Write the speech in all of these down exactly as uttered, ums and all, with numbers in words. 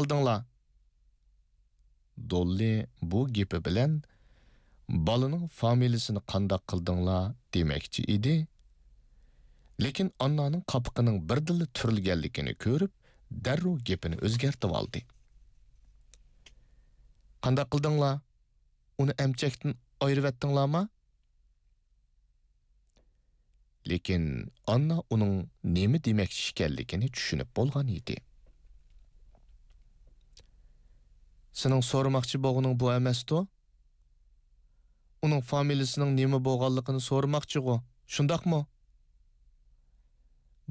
قىلدىڭلار؟» دوللى بۇ گېپى بىلەن بالىنىڭ فامىلىسىنى قانداق قىلدىڭلار دېمەكچى ئىدى، لېكىن ئاننانىڭ قاپىقىنىڭ بىردىنلا تۈرۈلگەنلىكىنى كۆرۈپ، دەررۇ گېپىنى ئۆزگەرتىۋالدى. «قانداق قىلدىڭلار؟ ئۇنى ئەمچەكتىن ئايرىۋەتتىڭلارما؟» لېكىن ئاننا ئۇنىڭ نېمە دېمەكچى ئىكەنلىكىنى چۈشىنىپ بولغان ئىدى. «سېنىڭ سورىماقچى بولغىنىڭ بۇ ئەمەستۇ؟ ئۇنىڭ فامىلىسىنىڭ نېمە بولغانلىقىنى سورىماقچىغۇ، شۇنداقمۇ؟»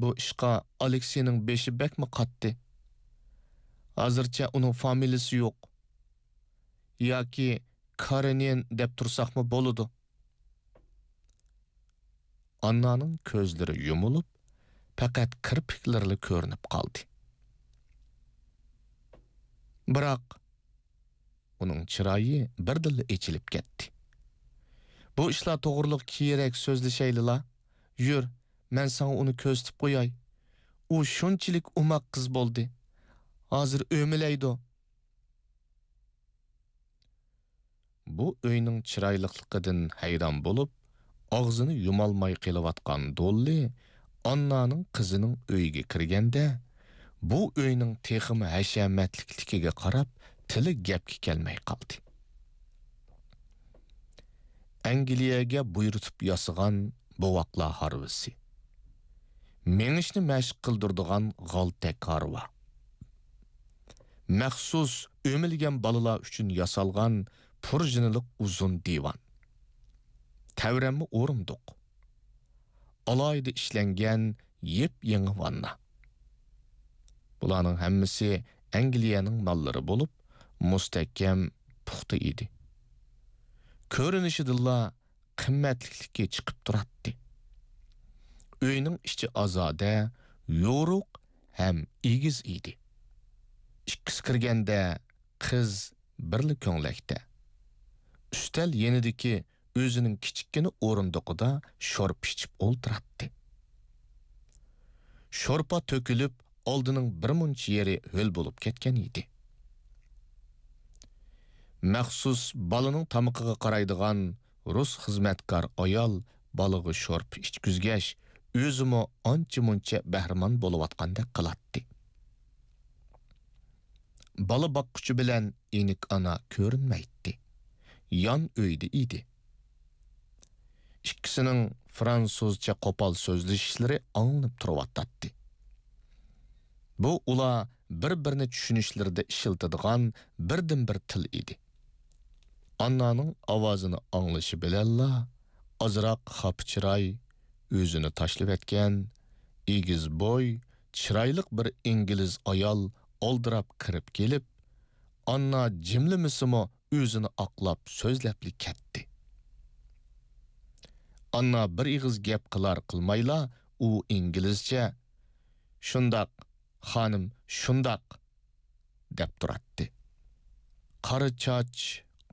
بۇ ئىشقا ئالېكسېينىڭ بېشى بەكمۇ قاتتى. «ھازىرچە ئۇنىڭ فامىلىسى يوق. ياكى كارېنىن دەپ تۇرساقمۇ بولىدۇ.» ئاننانىڭ كۆزلىرى يۇمۇلۇپ، پەقەت كىرپىكلىرىلا كۆرۈنۈپ قالدى. بىراق، ئۇنىڭ چىرايى بىردىنلا ئېچىلىپ كەتتى. «بۇ ئىشلار توغرىلىق كېيىنرەك سۆزلىشەيلىلا. يۈر، مەن ساڭا ئۇنى كۆرسىتىپ قوياي. ئۇ شۇنچىلىك ئوماق قىز بولدى. ھازىر ئۆمىلەيدۇ.» بۇ ئۆينىڭ چىرايلىقلىقىدىن ھەيران بولۇپ، ئاغزىنى يۇمالماي قېلىۋاتقان دوللى ئاننانىڭ قىزىنىڭ ئۆيىگە كىرگەندە، بۇ ئۆينىڭ تېخىمۇ ھەشەمەتلىكلىكىگە قاراپ، تىلى گەپكە كەلمەي قالدى. ئەنگلىيەگە بۇيرۇتۇپ ياسىغان بوۋاقلار ھارۋىسى. مېڭىشنى مەشىق قىلدۇرىدىغان غالتەك ھارۋا. مەخسۇس ئۆمىلىگەن بالىلار ئۈچۈن ياسالغان پۇرژىنىلىق ئۇزۇن دىۋان. تەۋرەنمە ئورۇندۇق. ئالاھىدە ئىشلەنگەن يېپيېڭى ۋاننا. بۇلارنىڭ ھەممىسى ئەنگلىيەنىڭ ماللىرى بولۇپ، مۇستەھكەم، پۇختا ئىدى. كۆرۈنۈشىدىنلا قىممەتلىكلىكى چىقىپ تۇراتتى. ئۆينىڭ ئىچى ئازادە، يورۇق ھەم ئېگىز ئىدى. ئىككىسى كىرگەندە قىز بىرلا كۆڭلەكتە، ئۈستەل يېنىدىكى ئۆزىنىڭ كىچىككىنە ئورۇندۇقىدا شورپا ئىچىپ ئولتۇراتتى. شورپا تۆكۈلۈپ، ئالدىنىڭ بىر مۇنچە يېرى ھۆل بولۇپ كەتكەن ئىدى. مەخسۇس بالىنىڭ تامىقىغا قارايدىغان رۇس خىزمەتكار ئايال بالىغا شورپا ئىچكۈزگەچ، ئۆزىمۇ ئانچە-مۇنچە بەھرىمەن بولۇۋاتقاندەك قىلاتتى. بالا باققۇچى بىلەن ئېنىك ئانا كۆرۈنمەيتتى. يان ئۆيدە ئىدى. ئىككىسىنىڭ فرانسۇزچە قوپال سۆزلىشىشلىرى ئاڭلىنىپ تۇرۇۋاتاتتى. بۇ ئۇلار بىر-بىرىنى چۈشىنىشلىرىدە ئىشلىتىدىغان بىردىنبىر تىل ئىدى. ئاننانىڭ ئاۋازىنى ئاڭلىشى بىلەنلا، ئازراق خاپا چىراي، ئۆزىنى تاشلىۋەتكەن، ئېگىز بوي، چىرايلىق بىر ئىنگلىز ئايال ئالدىراپ كىرىپ كېلىپ، ئاننا جىملىمىسىمۇ، ئۆزىنى ئاقلاپ سۆزلەپلا كەتتى. ئاننا بىر ئېغىز گەپ قىلار قىلمايلا، ئۇ ئىنگلىزچە، «شۇنداق، خانىم، شۇنداق» دەپ تۇراتتى. قارا چاچ،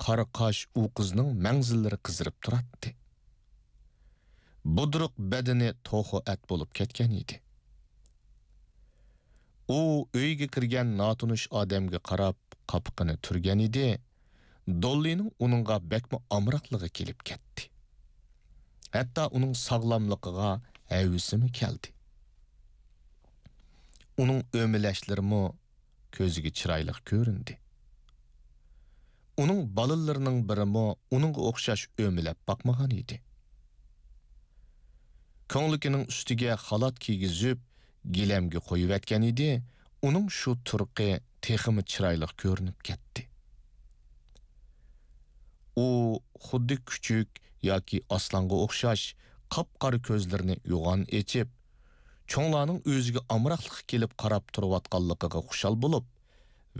قارا قاش ئۇ قىزنىڭ مەڭزىلىرى قىزىرىپ تۇراتتى. بۇدرۇق بەدىنى توخۇ ئەت بولۇپ كەتكەن ئىدى. ئۇ ئۆيگە كىرگەن ناتونۇش ئادەمگە قاراپ قاپىقىنى تۈرگەن ئىدى، دوللىنىڭ ئۇنىڭغا بەكمۇ ئامراقلىقى كېلىپ كەتتى. ھەتتا ئۇنىڭ ساغلاملىقىغا ھەۋىسىمۇ كەلدى. ئۇنىڭ ئۆمىلەشلىرىمۇ كۆزىگە چىرايلىق كۆرۈندى. ئۇنىڭ بالىلىرىنىڭ بىرىمۇ ئۇنىڭغا ئوخشاش ئۆمىلەپ باقمىغان ئىدى. كۆڭلىكىنىڭ ئۈستىگە خالات كىيگۈزۈپ، گىلەمگە قويۇۋەتكەن ئىدى، ئۇنىڭ شۇ تۇرقى تېخىمۇ چىرايلىق كۆرۈنۈپ كەتتى. ئۇ خۇددى كۈچۈك ياكى ئاسلانغا ئوخشاش قاپقارا كۆزلىرىنى يوغان ئېچىپ، چوڭلارنىڭ ئۆزىگە ئامراقلىققا كېلىپ قاراپ تۇرۇۋاتقانلىقىغا خۇشال بولۇپ،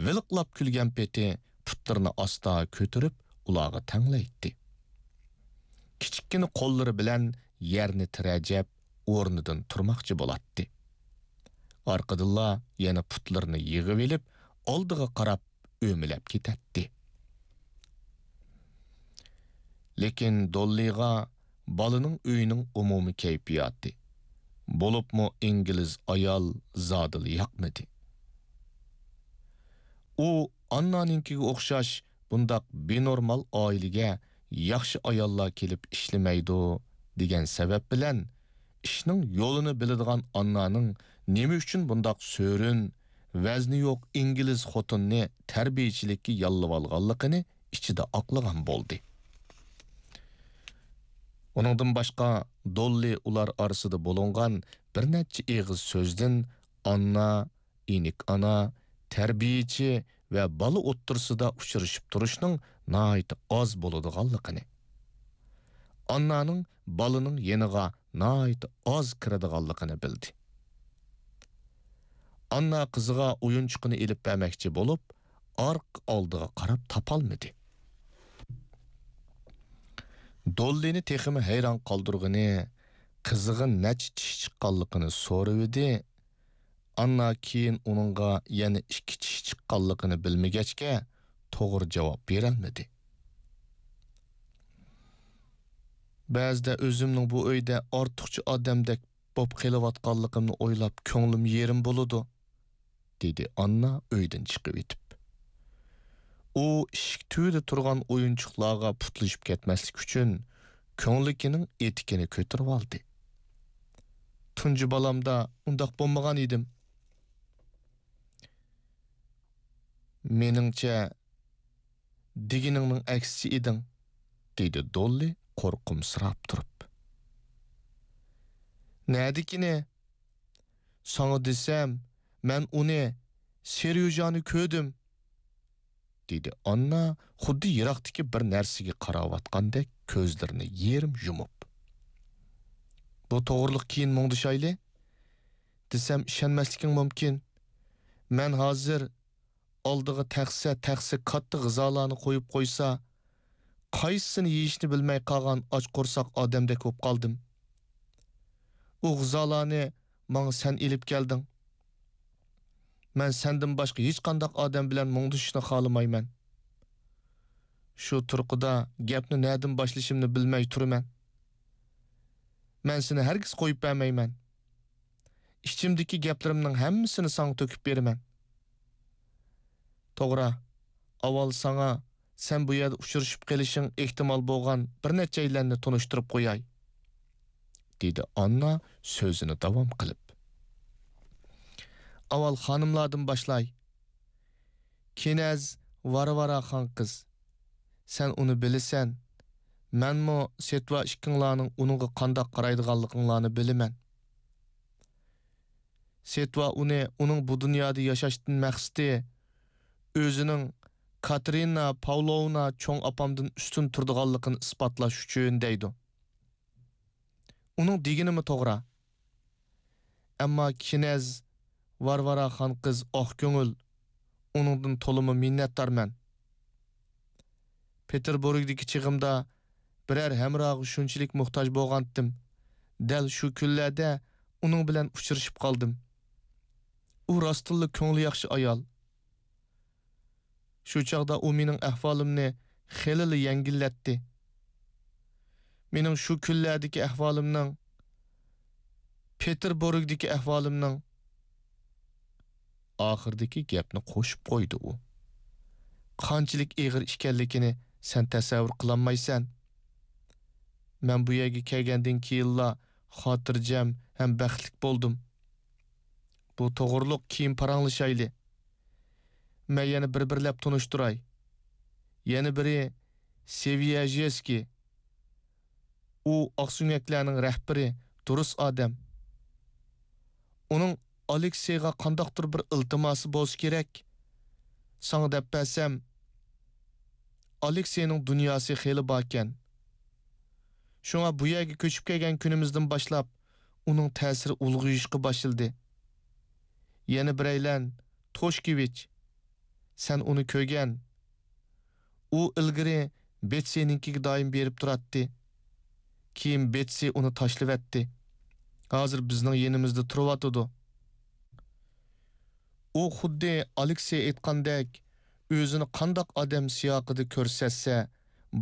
ۋىلىقلاپ كۈلگەن پېتى پۇتلىرىنى ئاستا كۆتۈرۈپ، ئۇلارغا تەڭلەيتتى. كىچىككىنە قوللىرى بىلەن يەرنى تىرەجەپ، ئورنىدىن تۇرماقچى بولاتتى. ئارقىدىنلا يەنە پۇتلىرىنى يىغىۋېلىپ، ئالدىغا قاراپ ئۆمىلەپ كېتەتتى. لېكىن دوللىغا بالىنىڭ ئۆيىنىڭ ئومۇمىي كەيپىياتى، بولۇپمۇ ئىنگلىز ئايال زادىلا ياقمىدى. ئۇ ئاننانىڭكىگە ئوخشاش بۇنداق بىنورمال ئائىلىگە ياخشى ئاياللار كېلىپ ئىشلىمەيدۇ دېگەن سەۋەب بىلەن، ئىشنىڭ يولىنى بىلىدىغان ئاننانىڭ نېمە ئۈچۈن بۇنداق سۆرۈن، ۋەزنى يوق ئىنگلىز خوتۇننى تەربىيىچىلىككە ياللىۋالغانلىقىنى ئىچىدە ئاقلىغان بولدى. ئۇنىڭدىن باشقا، دوللى ئۇلار ئارىسىدا بولۇنغان بىر نەچچە ئېغىز سۆزدىن ئاننا، ئىنىك ئانا، تەربىيىچى ۋە بالا ئوتتۇرىسىدا ئۇچرىشىپ تۇرۇشنىڭ ناھايىتى ئاز بولىدىغانلىقىنى، ئاننانىڭ بالىنىڭ يېنىغا ناھايىتى ئاز كىرىدىغانلىقىنى بىلدى. ئاننا قىزىغا ئويۇنچۇقىنى ئېلىپ بەرمەكچى بولۇپ، ئارقا ئالدىغا قاراپ تاپالمىدى. دوللىنى تېخىمۇ ھەيران قالدۇرغىنى، قىزىغا نەچچە چىش چىققانلىقىنى سورىۋىدى. ئاننا كېيىن ئۇنىڭغا يەنە ئىككى چىش چىققانلىقىنى بىلمىگەچكە، توغرا جاۋاب بېرەلمىدى. بەزىدە ئۆزۈمنىڭ بۇ ئۆيدە ئارتۇقچە ئادەمدەك بوپ قېلىۋاتقانلىقىمنى ئويلاپ كۆڭلۈم يېرىم بولىدۇ، دېدى ئاننا ئۆيدىن چىقىۋېتىپ. ئۇ ئىشىك تۈۋىدە تۇرغان ئويۇنچۇقلارغا پۇتلىشىپ كەتمەسلىك ئۈچۈن كۆڭلىكىنىڭ ئېتىكىنى كۆتۈرۈۋالدى. تۇنجى بالامدا ئۇنداق بولمىغان ئىدىم. مېنىڭچە، دېگىنىڭنىڭ ئەكسىچە ئىدىڭ، دېدى دوللى قورقۇمسىراپ تۇرۇپ. نەدىكىنى؟ ساڭا دېسەم، مەن ئۇنى، سېريوژانى كۆردۈم، دېدى ئاننا خۇددى يىراقتىكى بىر نەرسىگە قاراۋاتقاندەك كۆزلىرىنى يېرىم يۇمۇپ. بۇ توغرىلىق كېيىن مۇڭدىشايلى، دېسەم ئىشەنمەسلىكىڭ مۇمكىن. مەن ھازىر ئالدىغا تەخسە، تەخسە كاتتا غىزالارنى قويۇپ قويسا، قايسىسىنى يېيىشنى بىلمەي قالغان ئاچ قورساق ئادەمدەك بولۇپ قالدىم. ئۇ غىزالارنى ماڭا سەن ئېلىپ كەلدىڭ. مەن سەندىن باشقا ھېچقانداق ئادەم بىلەن مۇڭدىشىشنى خالىمايمەن. شۇ تۇرقىدا گەپنى نەدىن باشلىشىمنى بىلمەي تۇرىمەن. مەن سېنى ھەرگىز قويۇپ بەرمەيمەن. ئىچىمدىكى گەپلىرىمنىڭ ھەممىسىنى ساڭا تۆكۈپ بېرىمەن. توغرا، ئاۋۋال ساڭا سەن بۇ يەردە ئۇچرىشىپ قېلىشىڭ ئېھتىمال بولغان بىر نەچچەيلەننى تونۇشتۇرۇپ قوياي، دېدى ئاننا سۆزىنى داۋام قىلىپ. ئاۋۋال خانىملاردىن باشلاي. كىنەز ۋارۋارا خان قىز. سەن ئۇنى بىلىسەن. مەنمۇ سېتۋا ئىككىڭلارنىڭ ئۇنىڭغا قانداق قارايدىغانلىقىڭلارنى بىلىمەن. سېتۋا ئۇنى ئۇنىڭ بۇ دۇنيادا ياشاشتىن مەقسىتى ئۆزىنىڭ كاتېرىنا پاۋلوۋنا چوڭ ئاپامدىن ئۈستۈن تۇرىدىغانلىقىنى ئىسپاتلاش ئۈچۈن دەيدۇ. ئۇنىڭ دېگىنىمۇ توغرا. ئەمما كىنەز ۋارۋارا خان قىز ئاق كۆڭۈل، ئۇنىڭدىن تولىمۇ مىننەتدارمەن. پېتېربۇرگدىكى چېغىمدا بىرەر ھەمراھقا شۇنچىلىك موھتاج بولغانتىم، دەل شۇ كۈنلەردە ئۇنىڭ بىلەن ئۇچرىشىپ قالدىم. ئۇ راستتىنلا كۆڭلى ياخشى ئايال. شۇ چاغدا ئۇ مېنىڭ ئەھۋالىمنى خېلىلا يەڭگىللەتتى. مېنىڭ شۇ كۈنلەردىكى ئەھۋالىمنىڭ، پېتېربۇرگدىكى ئەھۋالىمنىڭ. ئاخىرىدىكى گەپنى قوشۇپ قويدى ئۇ. قانچىلىك ئېغىر ئىكەنلىكىنى سەن تەسەۋۋۇر قىلالمايسەن. مەن بۇ يەرگە كەلگەندىن كېيىنلا خاتىرجەم ھەم بەختلىك بولدۇم. بۇ توغرۇلۇق كېيىن پاراڭلىشايلى. مەن يەنە بىر-بىرلەپ تونۇشتۇراي. يەنە بىرى سېۋىيەژېسكىي. ئۇ ئاقسۆڭەكلەرنىڭ رەھبىرى، دۇرۇس ئادەم. ئۇنىڭ ئالېكسېيغا قانداقتۇر بىر ئىلتىماسى بولسا كېرەك. ساڭا دەپ بەرسەم، ئالېكسېينىڭ دۇنياسى خېلى باركەن. شۇڭا بۇ يەرگە كۆچۈپ كەلگەن كۈنىمىزدىن باشلاپ ئۇنىڭ تەسىرى ئۇلغىيىشقا باشلىدى. يەنە بىرەيلەن، توشكېۋىچ. سەن ئۇنى كۆرگەن. ئۇ ئىلگىرى بېتسىنىڭكىگە دائىم بېرىپ تۇراتتى. كېيىن بېتسى ئۇنى تاشلىۋەتتى. ھازىر بىزنىڭ يېنىمىزدا تۇرۇۋاتىدۇ. ئۇ خۇددى ئالېكسېي ئېيتقاندەك، ئۆزىنى قانداق ئادەم سىياقىدا كۆرسەتسە،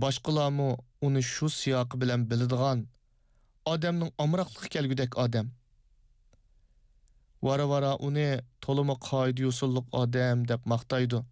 باشقىلارمۇ ئۇنى شۇ سىياقى بىلەن بىلىدىغان، ئادەمنىڭ ئامراقلىقى كەلگۈدەك ئادەم. ۋارا-ۋارا ئۇنى تولىمۇ قائىدە-يوسۇنلۇق ئادەم دەپ ماختايدۇ.